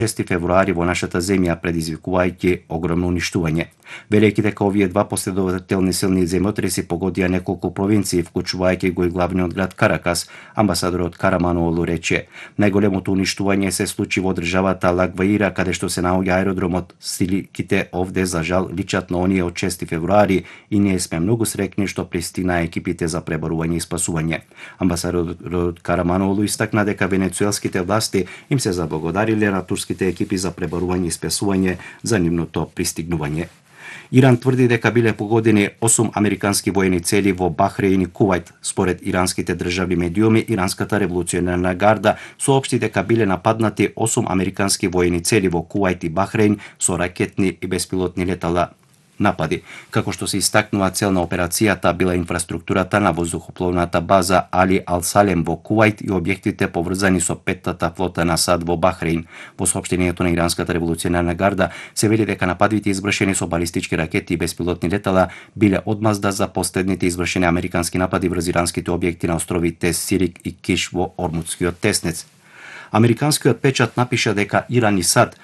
6 февруари во нашата земја, предизвикувајќи огромно уништување. Велејќи дека овие два последователни силни земјотреси погодија неколку провинции, вклучувајќи го и главниот град Каракас, амбасадорот Караманолу рече: најголемото уништување се случи во државата Лагваира, каде што се наоѓа аеродромот. Сликите овде за жал личат на оние од 6 февруари и ние сме многу среќни што пристигнаа екипите за преборување и спасување. Амбасадорот Караманолу истакна дека венецуелските власти им се заблагодариле на турските екипи за преборување и спасување за нивното пристигнување. Иран тврди дека биле погодени 8 американски воени цели во Бахреин и Кувајт. Според иранските државни медиуми, иранската револуционерна гарда соопшти дека биле нападнати 8 американски воени цели во Кувајт и Бахреин со ракетни и беспилотни летала напади. Како што се истакнува, цел на операцијата била инфраструктурата на воздухопловната база Али Ал-Салем во Кувајт и објектите поврзани со петтата флота на САД во Бахреин. Во соопштението на иранската револуционерна гарда се вели дека нападите извршени со балистички ракети и беспилотни летала биле одмазда за последните извршени американски напади врз иранските објекти на островите Сирик и Киш во Ормутскиот теснец. Американскиот печат напиша дека Иран и САД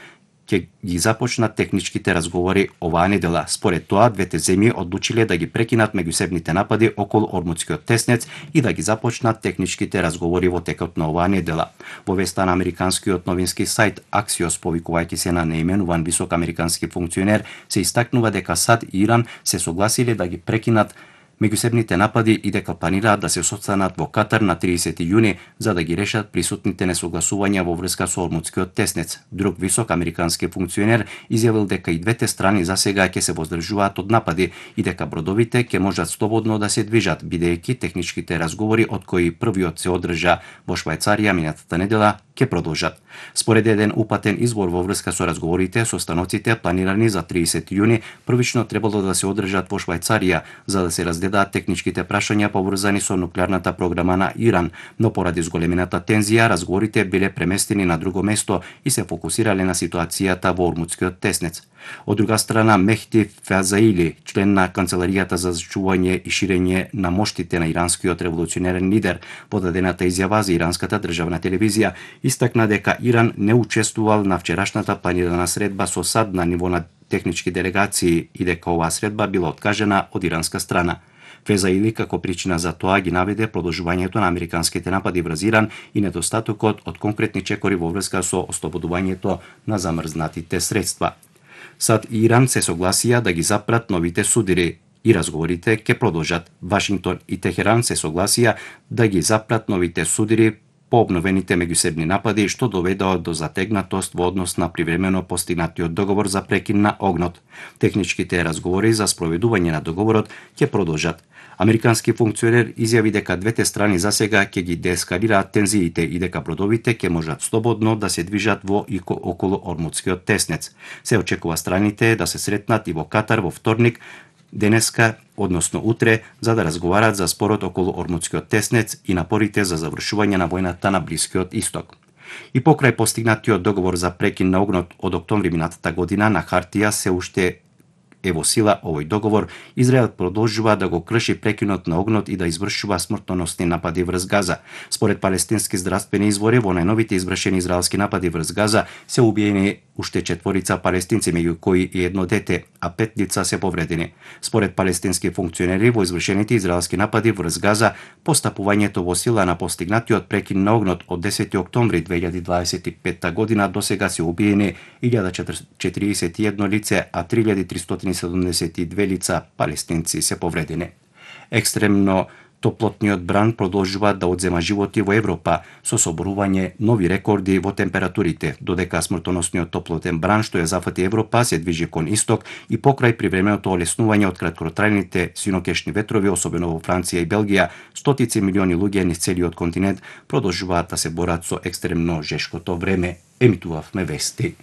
ќе ги започнат техничките разговори оваа недела. Според тоа, двете земји одлучиле да ги прекинат меѓусебните напади околу Ормутскиот теснец и да ги започнат техничките разговори во текот на оваа недела. Во веста на американскиот новински сајт Axios, повикувајќи се на неименуван висок американски функционер, се истакнува дека САД и Иран се согласиле да ги прекинат меѓусебните напади и дека планираат да се состанат во Катар на 30 јуни за да ги решат присутните несогласувања во врска со Ормутскиот теснец. Друг висок американски функционер изјавил дека и двете страни засега ќе се воздржуваат од напади и дека бродовите ќе можат слободно да се движат, бидејќи техничките разговори од кои првиот се одржа во Швајцарија минатата недела ќе продолжат. Според еден упатен извор во врска со разговорите со станоците планирани за 30 јуни, првично требало да се одржат во Швајцарија за да се разгледаат техничките прашања поврзани со нуклеарната програма на Иран, но поради зголемената тензија разговорите биле преместени на друго место и се фокусирале на ситуацијата во Ормутскиот теснец. Од друга страна, Мехти Фазаили, член на Канцеларијата за зачување и ширење на моштите на иранскиот револуционерен лидер, во дадената изјава за иранската државна телевизија, истакна дека Иран не учествувал на вчерашната планирана средба со САД на ниво на технички делегации и дека оваа средба била откажена од иранска страна. Фезаили како причина за тоа ги наведе продолжувањето на американските напади врз Иран и недостатокот од конкретни чекори во врска со ослободувањето на замрзнатите средства. САД и Иран се согласија да ги запрат новите судири и разговорите ќе продолжат. Вашингтон и Техеран се согласија да ги запрат новите судири по обновените меѓусебни напади, што доведоа до затегнатост во однос на привремено постигнатиот договор за прекин на огнот. Техничките разговори за спроведување на договорот ќе продолжат. Американски функционер изјави дека двете страни засега ќе ги деескалираат тензиите и дека бродовите ќе можат слободно да се движат во и околу Ормутскиот теснец. Се очекува страните да се сретнат и во Катар во вторник, денеска, односно утре, за да разговарат за спорот околу Ормутскиот теснец и напорите за завршување на војната на Блискиот Исток. И покрај постигнатиот договор за прекин на огнот од октомври минатата година, на хартија се уште е во сила овој договор, Израел продолжува да го крши прекинот на огнот и да извршува смртоносни напади врз Газа. Според палестински здравствени извори, во најновите извршени израелски напади врз Газа се убиени уште 4 палестинци, меѓу кои и едно дете, а 5 лица се повредени. Според палестински функционери, во извршените израелски напади врз Газа, постапувањето во сила на постигнатиот прекин на огнот од 10 октомври 2025 година досега се убиени 1041 лице, а 3372 лица палестинци се повредени. Екстремно топлотниот бран продолжува да одзема животи во Европа со соборување нови рекорди во температурите, додека смртоносниот топлотен бран што ја зафати Европа се движи кон исток и покрај привременото олеснување од краткотрајните синокешни ветрови, особено во Франција и Белгија, стотици милиони луѓе низ целиот континент продолжуваат да се борат со екстремно жешкото време. Емитувавме вести.